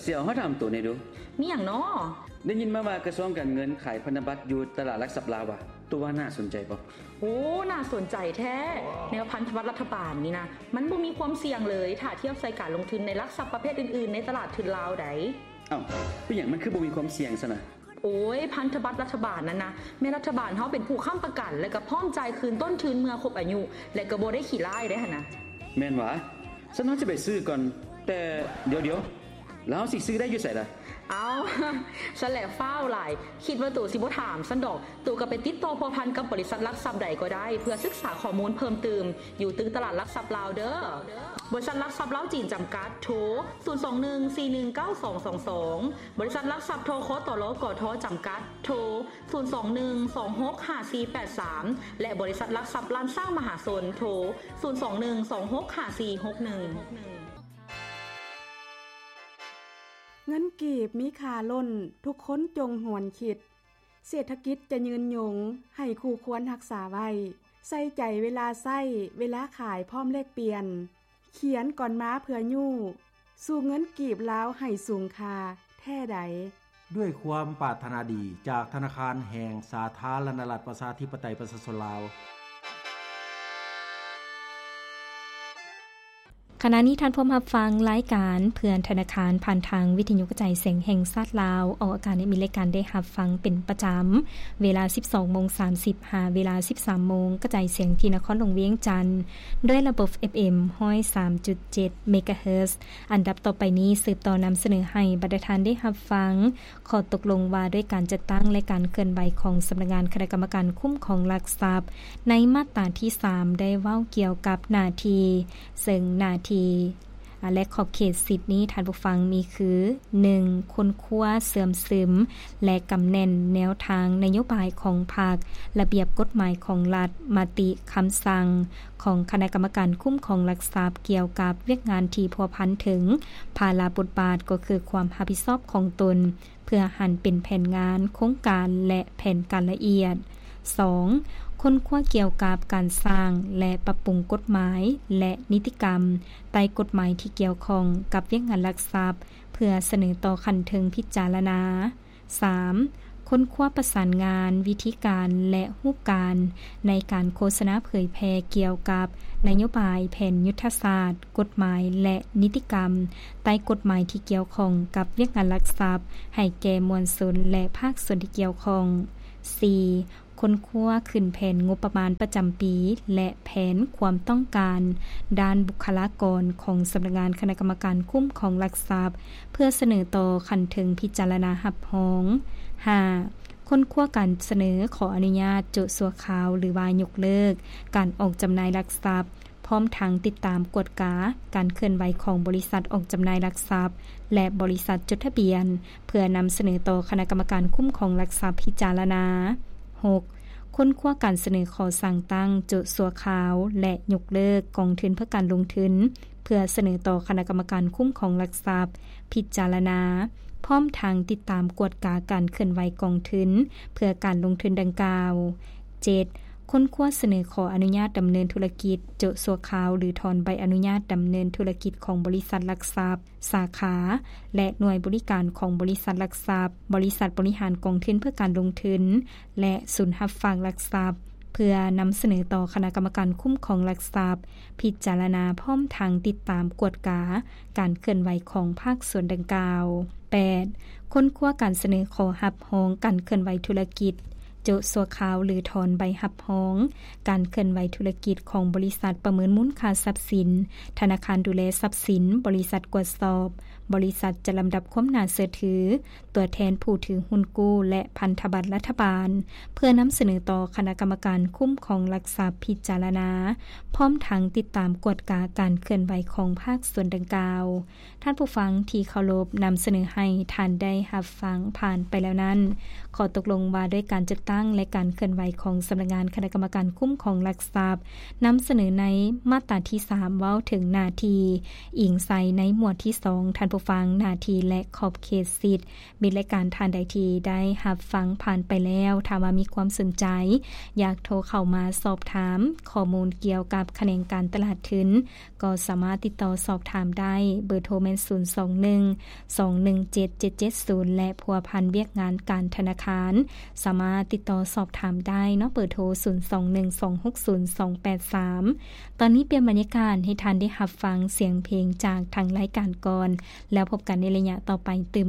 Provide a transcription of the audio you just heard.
ເສຍ ຂໍຖາມໂຕແດ່ດູ. ມີຫຍັງນໍ? ໄດ້ຍິນມາວ່າກະຊວງການເງິນຂາຍພັນທະບັດຢູ່ຕະຫຼາດຫຼັກຊັບລາວວ່າ ໂຕວ່າໜ້າສົນໃຈບໍ່? ໂອ້ ໜ້າສົນໃຈແທ້. ແນວພັນທະບັດລັດຖະບານນີ້ນະ ມັນບໍ່ມີຄວາມສ່ຽງເລີຍ ຖ້າທຽບໃສ່ການລົງທຶນໃນຫຼັກຊັບປະເພດອື່ນໆ ໃນຕະຫຼາດທຶນລາວໃດ໋. ເອົ້າ ເປັນຫຍັງມັນຄືບໍ່ມີຄວາມສ່ຽງຊັ້ນນະ? ໂອ້ຍ ພັນທະບັດລັດຖະບານນັ້ນນະ ແມ່ນລັດຖະບານເຮົາເປັນຜູ້ຄ້ຳປະກັນ ແລະກະພ້ອມຈ່າຍຄືນຕົ້ນທຶນເມື່ອຄົບອາຍຸ ແລະກະບໍ່ໄດ້ຂີ້ລ້າຍເດ້ຫັ້ນນະ. ແມ່ນຫວາ? ຊັ້ນເຮົາຊິໄປຊື້ກ່ອນ. ແຕ່ດຽວໆ ແລ້ວເຮົາຊິຊື້ໄດ້ຢູ່ໃສລະ? ເອົ້າ ຊັ້ນແຫຼະຟ້າວຫຼາຍ ຄິດວ່າໂຕຊິບໍ່ຖາມຊັ້ນດອກ. ໂຕກະໄປຕິດຕໍ່ພົວພັນກັບບໍລິສັດຫຼັກຊັບໃດກໍໄດ້ ເພື່ອສຶກສາຂໍ້ມູນເພີ່ມຕື່ມ ຢູ່ຕຶກຕະຫຼາດຫຼັກຊັບລາວເດີ້. ບໍລິສັດຫຼັກຊັບລາວຈີນຈຳກັດ ໂທ ສູນສອງໜຶ່ງສີ່ໜຶ່ງເກົ້າສອງສອງສອງ. ບໍລິສັດຫຼັກຊັບ ທຄຕລ ກທ ຈຳກັດ ໂທ ສູນສອງໜຶ່ງສອງຫົກຫ້າສີ່ແປດສາມ ແລະ ບໍລິສັດຫຼັກຊັບລ້ານຊ້າງມະຫາຊົນ ໂທ ສູນສອງໜຶ່ງສອງຫົກຫ້າສີ່ຫົກໜຶ່ງ. ເງິນກີບມີຄ່າລົ້ນ ທຸກຄົນຈົ່ງຫວນຄິດ. ເສດຖະກິດຈະຍືນຍົງ ໃຫ້ຄູ່ຄວນຮັກສາໄວ້. ໃສ່ໃຈເວລາໃຊ້ ເວລາຂາຍພ້ອມແລກປ່ຽນ. ຂຽນກ່ອນມາເພື່ອຍູ້ ສູ່ເງິນກີບລາວໃຫ້ສູງຄ່າແທ້ໃດ. ດ້ວຍຄວາມປາດຖະໜາດີ ຈາກທະນາຄານແຫ່ງສາທາລະນະລັດ ປະຊາທິປະໄຕ ປະຊາຊົນລາວ. ຂະນະນີ້ທ່ານພວມຮັບຟັງລາຍການເພື່ອນທະນາຄານ ຜ່ານທາງວິທະຍຸກະຈາຍສຽງແຫ່ງຊາດລາວ ອອກອາກາດໃນມີລາຍການໄດ້ຮັບຟັງເປັນປະຈຳ ເວລາສິບສອງໂມງສາມສິບ ຫາເວລາສິບສາມໂມງ ກະຈາຍສຽງທີ່ນະຄອນຫຼວງວຽງຈັນ ດ້ວຍລະບົບ ເອັຟເອັມ ຮ້ອຍສາມຈຸດເຈັດ ເມກາເຮີດ. ອັນດັບຕໍ່ໄປນີ້ ສືບຕໍ່ນຳສະເໜີໃຫ້ບັນດາທ່ານໄດ້ຮັບຟັງ ຂໍ້ຕົກລົງວ່າດ້ວຍການຈັດຕັ້ງ ແລະ ການເຄື່ອນໄຫວຂອງສຳນັກງານຄະນະກຳມະການຄຸ້ມຄອງຫຼັກຊັບ ໃນມາດຕາທີສາມ ໄດ້ເວົ້າກ່ຽວກັບໜ້າທີ່ ເຊິ່ງໜ້າທີ່ ແລະ ຂອບເຂດສິດນີ້ ທ່ານຜູ້ຟັງມີຄື ໜຶ່ງ ຄົ້ນຄວ້າເຊື່ອມຊຶມ ແລະ ກຳແໜ້ນແນວທາງນະໂຍບາຍຂອງພັກ, ລະບຽບກົດໝາຍຂອງລັດ, ມະຕິ, ຄຳສັ່ງຂອງຄະນະກຳມະການຄຸ້ມຄອງຫຼັກຊັບ ກ່ຽວກັບວຽກງານທີ່ພົວພັນເຖິງພາລະບົດບາດ ກໍຄືຄວາມຮັບຜິດຊອບຂອງຕົນ ເພື່ອຫັນເປັນແຜນງານ, ໂຄງການ ແລະ ແຜນການລະອຽດ. ສອງ ຄົ້ນຄວ້າກ່ຽວກັບການສ້າງ ແລະ ປັບປຸງກົດໝາຍ ແລະ ນິຕິກຳໃຕ້ກົດໝາຍທີ່ກ່ຽວຂ້ອງກັບວຽກງານຫຼັກຊັບ ເພື່ອສະເໜີຕໍ່ຂັ້ນເທິງພິຈາລະນາ. ສາມ ຄົ້ນຄວ້າປະສານງານ, ວິທີການ ແລະ ຮູບການໃນການໂຄສະນາເຜີຍແຜ່ກ່ຽວກັບນະໂຍບາຍ, ແຜນຍຸດທະສາດ, ກົດໝາຍ ແລະ ນິຕິກຳໃຕ້ກົດໝາຍທີ່ກ່ຽວຂ້ອງກັບວຽກງານຫຼັກຊັບ ໃຫ້ແກ່ມວນຊົນ ແລະ ພາກສ່ວນທີ່ກ່ຽວຂ້ອງ. ສີ່ ຄົ້ນຄວ້າຂຶ້ນແຜນງົບປະມານປະຈຳປີ ແລະ ແຜນຄວາມຕ້ອງການດ້ານບຸກຄະລາກອນຂອງສຳນັກງານຄະນະກຳມະການຄຸ້ມຄອງຫຼັກຊັບ ເພື່ອສະເໜີຕໍ່ຂັ້ນເທິງພິຈາລະນາຮັບຮອງ. ຫ້າ ຄົ້ນຄວ້າການສະເໜີຂໍອະນຸຍາດໂຈະຊົ່ວຄາວ ຫຼືວ່າຍົກເລີກການອອກຈຳໜ່າຍຫຼັກຊັບ ພ້ອມທັງຕິດຕາມກວດກາການເຄື່ອນໄຫວຂອງບໍລິສັດອອກຈຳໜ່າຍຫຼັກຊັບ ແລະ ບໍລິສັດຈົດທະບຽນ ເພື່ອນຳສະເໜີຕໍ່ຄະນະກຳມະການຄຸ້ມຄອງຫຼັກຊັບພິຈາລະນາ. ຫົກ ຄົ້ນຄວ້າການສະເໜີຂໍສ້າງຕັ້ງໂຈະຊົ່ວຄາວ ແລະ ຍົກເລີກກອງທຶນເພື່ອການລົງທຶນ ເພື່ອສະເໜີຕໍ່ຄະນະກຳມະການຄຸ້ມຄອງຫຼັກຊັບພິຈາລະນາ, ພ້ອມທັງຕິດຕາມກວດກາການເຄື່ອນໄຫວກອງທຶນເພື່ອການລົງທຶນດັ່ງກ່າວ. ເຈັດ ຄົ້ນຄວ້າສະເໜີຂໍອະນຸຍາດດຳເນີນທຸລະກິດໂຈະຊົ່ວຄາວ ຫຼື ຖອນໃບອະນຸຍາດດຳເນີນທຸລະກິດຂອງບໍລິສັດຫຼັກຊັບ, ສາຂາ ແລະ ໜ່ວຍບໍລິການຂອງບໍລິສັດຫຼັກຊັບ, ບໍລິສັດບໍລິຫານກອງທຶນເພື່ອການລົງທຶນ ແລະ ສູນຮັບຝາກຫຼັກຊັບ ເພື່ອນຳສະເໜີຕໍ່ຄະນະກຳມະການຄຸ້ມຄອງຫຼັກຊັບພິຈາລະນາ, ພ້ອມທັງຕິດຕາມກວດກາການເຄື່ອນໄຫວຂອງພາກສ່ວນດັ່ງກ່າວ. ແປດ ຄົ້ນຄວ້າການສະເໜີຂໍຮັບຮອງການເຄື່ອນໄຫວທຸລະກິດ ໂຈະຊົ່ວຄາວ ຫຼື ຖອນໃບຮັບຮອງການເຄື່ອນໄຫວທຸລະກິດຂອງບໍລິສັດປະເມີນມູນຄ່າຊັບສິນ, ທະນາຄານດູແລຊັບສິນ, ບໍລິສັດກວດສອບ, ບໍລິສັດຈັດລຳດັບຄວາມໜ້າເຊື່ອຖື, ຕົວແທນຜູ້ຖືຫຸ້ນກູ້ ແລະ ພັນທະບັດລັດຖະບານ ເພື່ອນຳສະເໜີຕໍ່ຄະນະກຳມະການຄຸ້ມຄອງຫຼັກຊັບພິຈາລະນາ, ພ້ອມທັງຕິດຕາມກວດກາການເຄື່ອນໄຫວຂອງພາກສ່ວນດັ່ງກ່າວ. ທ່ານຜູ້ຟັງທີ່ເຄົາລົບ, ນຳສະເໜີໃຫ້ທ່ານໄດ້ຮັບຟັງຜ່ານໄປແລ້ວນັ້ນ ຂໍ້ຕົກລົງວ່າດ້ວຍການຈັດຕັ້ງ ງ ແລະ ການເຄື່ອນໄຫວຂອງສຳນັກງານຄະນະກຳມະການຄຸ້ມຄອງຫຼັກຊັບ ນຳສະເໜີໃນມາດຕາທີສາມ ເວົ້າເຖິງໜ້າທີ່ ອີງໃສ່ໃນໝວດທີສອງ ທ່ານຜູ້ຟັງ, ໜ້າທີ່ ແລະ ຂອບເຂດສິດ. ມິດ ແລະ ການທ່ານໃດທີ່ໄດ້ຮັບຟັງຜ່ານໄປແລ້ວ, ຖ້າວ່າມີຄວາມສົນໃຈ ຢາກໂທເຂົ້າມາສອບຖາມຂໍ້ມູນກ່ຽວກັບຂະແໜງການຕະຫຼາດທຶນ, ກໍສາມາດຕິດຕໍ່ສອບຖາມໄດ້. ເບີໂທແມ່ນ ສູນສອງໜຶ່ງ ສອງໜຶ່ງເຈັດ ເຈັດເຈັດສູນ ແລະ ພົວພັນວຽກງານການທະນາຄານ ສາມາດຕິດຕໍ່ສອບຖາມໄດ້ເນາະ, ເບີໂທ ສູນສອງໜຶ່ງ ສອງຫົກສູນ ສອງແປດສາມ. ຕອນນີ້ປ່ຽນບັນຍາກາດໃຫ້ທ່ານໄດ້ຮັບຟັງສຽງເພງຈາກທາງລາຍການກ່ອນ, ແລ້ວພົບກັນໃນໄລຍະຕໍ່ໄປຕື່ມ